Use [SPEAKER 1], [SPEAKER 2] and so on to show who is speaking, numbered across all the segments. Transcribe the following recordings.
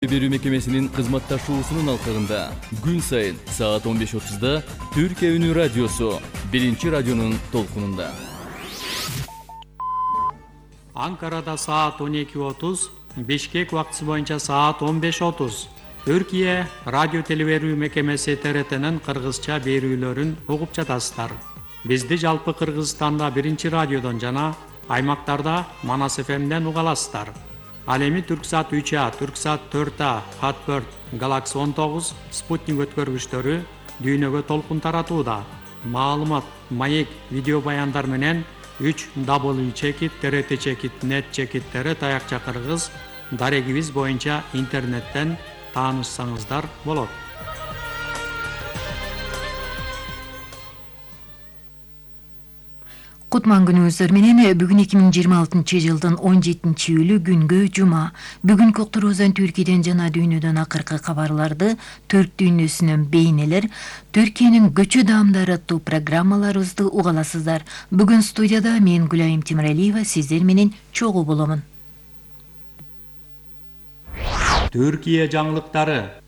[SPEAKER 1] Берүү мекемесинин кызматташуусунун алкагында күн сайын саат 15:30 Түркия Үнү радиосу биринчи радионун толкунунда.
[SPEAKER 2] Анкарада саат 12:30, Бишкек убактысы боюнча саат 15:30. Түркия радио телеберүү мекемеси ТРТнын кыргызча берүүлөрүн угуп жатасыздар. Бизди жалпы Кыргызстанда биринчи радиодон жана аймактарда Манас ФМден уга аласыздар. Ал эми Түрксат 3А, Түрксат 4А, Хатберт, Галакси 19, Спутник өткөргүчтөрү дүйнөгө толкун таратууда. Маалымат, маек, видео баяндар менен 3w.trt.net таякча кыргыз дарегибиз боюнча интернеттен таанышсаңыздар болот.
[SPEAKER 3] Кутман күнүңүздөр менен бүгүн 2026 жылдын 17-июлу күнгө жума. Бүгүнкү уктуруубуздан Түркияден жана дүйнөдөн акыркы кабарларды, төрт дүйнөсүнөн бейнелер, Түркиянын көчө даамдары аттуу программаларыбызды уга аласыздар. Бүгүн студияда мен Гүлайым Темиралиева сиздер менен чогуу боломун.
[SPEAKER 2] Түркия жаңылыктары.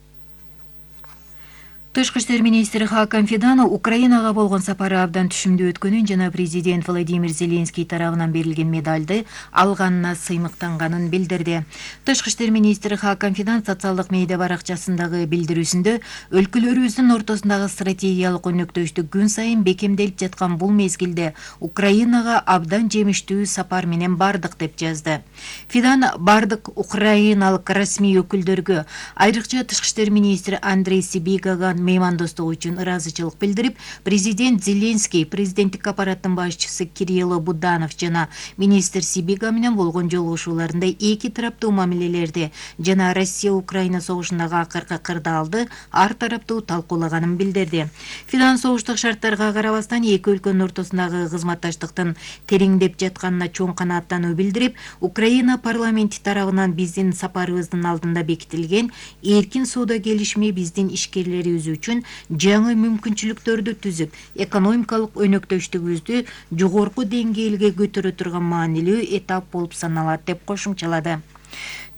[SPEAKER 3] Тышкы иштер министри Хакан Фидан Украинага болгон сапары абдан түшүмдүү өткөнүн жана президент Владимир Зеленский тарабынан берилген медалды алганына сыймыктанганын билдирди. Тышкы иштер министри Хакан Фидан социалдык медиа баракчасындагы билдирүүсүндө өлкөлөрүбүздүн ортосундагы стратегиялык өнөктөштүк күн сайын бекемделип жаткан бул мезгилде Украинага абдан жемиштүү сапар менен бардык деп жазды. Фидан бардык украиналык расмий өкүлдөргө, айрыкча тышкы иштер министри Андрей Сибигага меймандостук үчүн ыраазычылык билдирип, президент Зеленский, президенттик аппараттын башчысы Кирилло Буданов жана министр Сибига менен болгон жолугушууларында эки тараптуу мамилелерди жана Россия-Украина согушундагы акыркы кырдаалды ар тараптуу талкуулаганын билдирди. Фидан согуштук шарттарга карабастан эки өлкөнүн ортосундагы кызматташтыктын тереңдеп жатканына чоң канааттануу билдирип, Украина парламенти тарабынан биздин сапарыбыздын алдында бекитилген эркин соода келишими биздин ишкерлерибиз үчүн жаңы мүмкүнчүлүктөрдү түзүп, экономикалык өнөктөштүгүбүздү жогорку деңгээлге көтөрө турган маанилүү этап болуп саналат деп кошумчалады.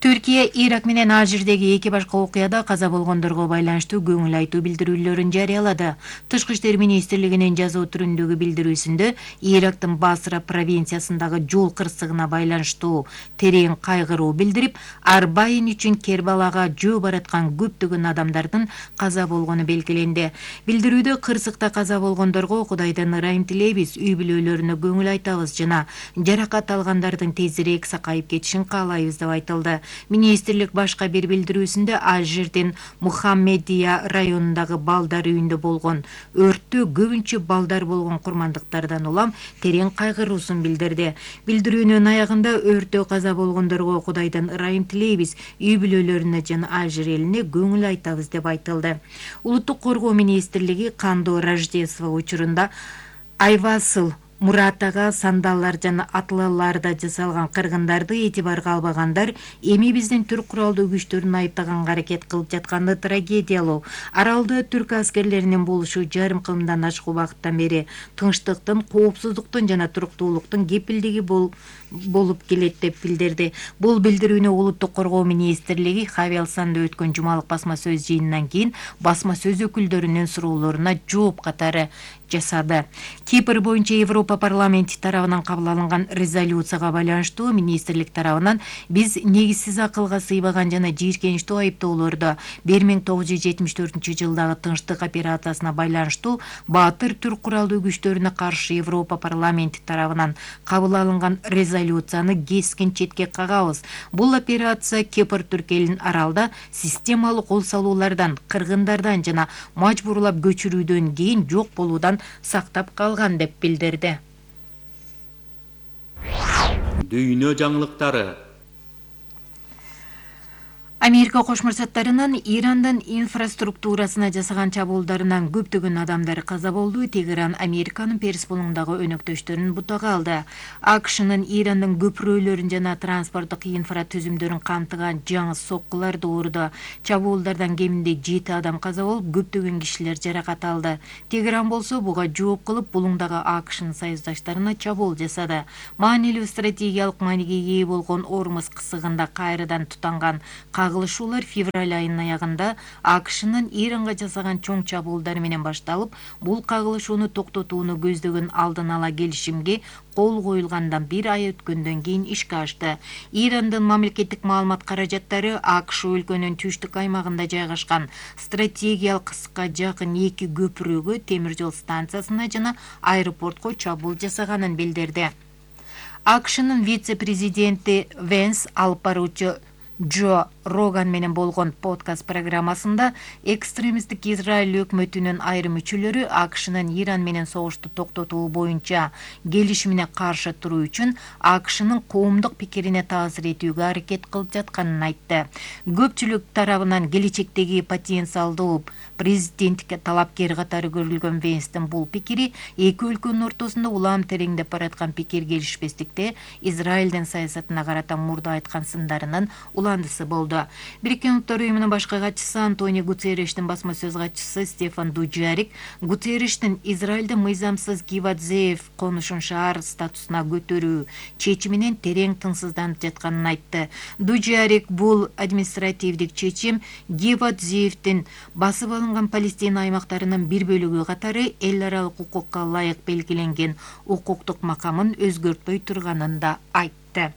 [SPEAKER 3] Түркия Ирак менен Алжирдеги эки башка окуяда каза болгондорго байланыштуу көңүл айтуу билдирүүлөрүн жарыялады. Тышкы иштер министрлигинин жазуу түрүндөгү билдирүүсүндө Ирактын Басра провинциясындагы жол кырсыгына байланыштуу терең кайгыруу билдирип, Арбайын үчүн Кербалага жөө бараткан көптөгөн адамдардын каза болгону белгиленди. Билдирүүдө кырсыкта каза болгондорго Кудайдан ырайым тилейбиз, үй бүлөлөрүнө көңүл айтабыз жана жаракат алгандардын тезирээк сакайып кетишин каалайбыз деп айтылды. Министрлик башка бир билдирүүсүндө Алжирдин Мухаммедия районундагы балдар үйүндө болгон өрттө көбүнчө балдар болгон курмандыктардан улам терең кайгыруусун билдирди. Билдирүүнүн аягында өрттө каза болгондорго Кудайдан ырайым тилейбиз, үй бүлөлөрүнө жана Алжир элине көңүл айтабыз деп айтылды. Улуттук коргоо министрлиги кандуу Рождество учурунда Айвасыл, Муратага сандаллар жана атлаларда жасалган кыргындарды этибарга албагандар эми биздин түрк куралдуу күчтөрүн айыптаганга аракет кылып жатканды трагедиялоо. Аралда түрк аскерлеринин болушу жарым кылымдан ашык убакыттан бери тынчтыктын, коопсуздуктун жана туруктуулуктун кепилдиги болуп келет деп билдирди. Бул билдирүүнү улуттук коргоо министрлиги Хавиалсанда өткөн жумалык басма сөз жыйынынан кийин басма сөз өкүлдөрүнүн суроолоруна жооп катары жасады. Кипр боюнча Европа парламенти тарабынан кабыл алынган резолюцияга байланыштуу министрлик тарабынан биз негизсиз акылга сыйбаган жана жийиркеничтүү айыптоолорду 1974 жылдагы тынчтык операциясына байланыштуу баатыр түрк куралдуу күчтөрүнө каршы Европа парламенти тарабынан кабыл алынган резолюцияны кескин четке кагабыз. Бул операция Кипр түрк элин аралда системалык кол салуулардан, кыргындардан жана мажбурлап көчүрүүдөн кийин жок болуудан сактап калган деп билдирди.
[SPEAKER 2] Дүйнө жаңылыктары.
[SPEAKER 3] Америка Кошмо Штаттарынын Ирандын инфраструктурасына жасаган чабуулдарынан көптөгөн адамдар каза болду. Тегеран Американын Перс булуңундагы өнөктөштөрүн бутага алды. АКШнын Ирандын көпүрөлөрүн жана транспорттук инфратүзүмдөрүн камтыган жаңы соккуларды уурду. Чабуулдардан кеминде 7 адам каза болуп, көптөгөн кишилер жаракат алды. Тегеран болсо буга жооп кылып, булуңдагы АКШнын союздаштарына чабуул жасады. Маанилүү стратегиялык мааниге ээ болгон Ормуз кысыгында кайрадан тутанган кагылышуулар февраль айынын аягында АКШнын Иранга жасаган чоң чабуулдары менен башталып, бул кагылышууну токтотууну көздөгөн алдын ала келишимге кол коюлгандан бир ай өткөндөн кийин ишке ашты. Ирандын мамлекеттик маалымат каражаттары АКШ өлкөнүн түштүк аймагында жайгашкан стратегиялык кыска жакын 2 көпүрөгө, темир жол станциясына жана аэропортко чабуул жасаганын билдирди. АКШнын вице-президенти Венс алып баруучу Джо Роган менен болгон подкаст программасында экстремисттик Израиль өкмөтүнүн айрым мүчөлөрү АКШнын Иран менен согушту токтотуу боюнча келишимине каршы туруу үчүн АКШнын коомдук пикирине таасир этүүгө аракет кылып жатканын айтты. Көпчүлүк тарабынан келечектеги потенциалдуу президенттикке талапкер катары көрүлгөн Венстин бул пикири эки өлкөнүн ортосунда улам тереңдеп бараткан пикир келишпестикте Израилдин саясатына карата мурда айткан сындарынын уландысы болду. Бириккен Улуттар уюмунун башкы катчысы Антонио Гутерриштин басма сөз катчысы Стефан Дуджарик Гутерриштин Израилде мыйзамсыз Гиват Зеев конушун шаар статусуна көтөрүү чечиминен терең тынчсызданып жатканын айтты. Дуджарик бул административдик чечим Гиват Зеевдин басып алынган Палестина аймактарынын бир бөлүгү катары эл аралык укукка ылайык белгиленген укуктук макамын өзгөртпөй турганын да айтты.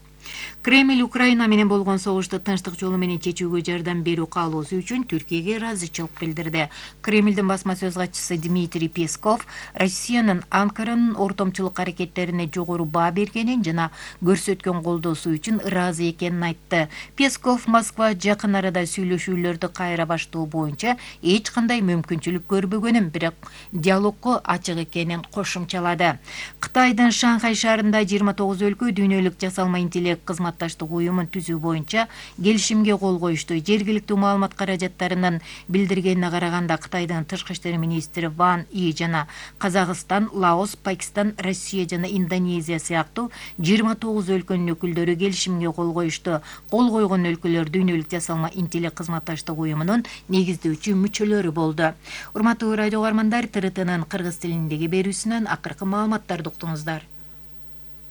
[SPEAKER 3] Кремль Украина менен болгон согушту тынчтык жолу менен чечүүгө жардам берүү каалоосу үчүн Түркияге ыраазычылык билдирди. Кремлдин басма сөз катчысы Дмитрий Песков Россиянын Анкаранын ортомчулук аракеттерине жогору баа бергенин жана көрсөткөн колдоосу үчүн ыраазы экенин айтты. Песков Москва жакын арада сүйлөшүүлөрдү кайра баштоо боюнча эч кандай мүмкүнчүлүк көрбөгөнүн, бирок диалогго ачык экенин кошумчалады. Кытайдын Шанхай шаарында 29 өлкө дүйнөлүк жасалма интеллект кызматташтык уюмун түзүү боюнча келишимге кол коюшту. Жергиликтүү маалымат каражаттарынын билдиргенине караганда Кытайдын тышкы иштер министри Ван И жана Казакстан, Лаос, Пакистан, Россия жана Индонезия сыяктуу 29 өлкөнүн өкүлдөрү келишимге кол коюшту. Кол койгон өлкөлөр дүйнөлүк жасалма интеллект кызматташтык уюмунун негиздөөчү мүчөлөрү болду. Урматтуу радио угармандар, ТРТнын кыргыз тилиндеги берүүсүнөн акыркы маалыматтарды уктуңуздар.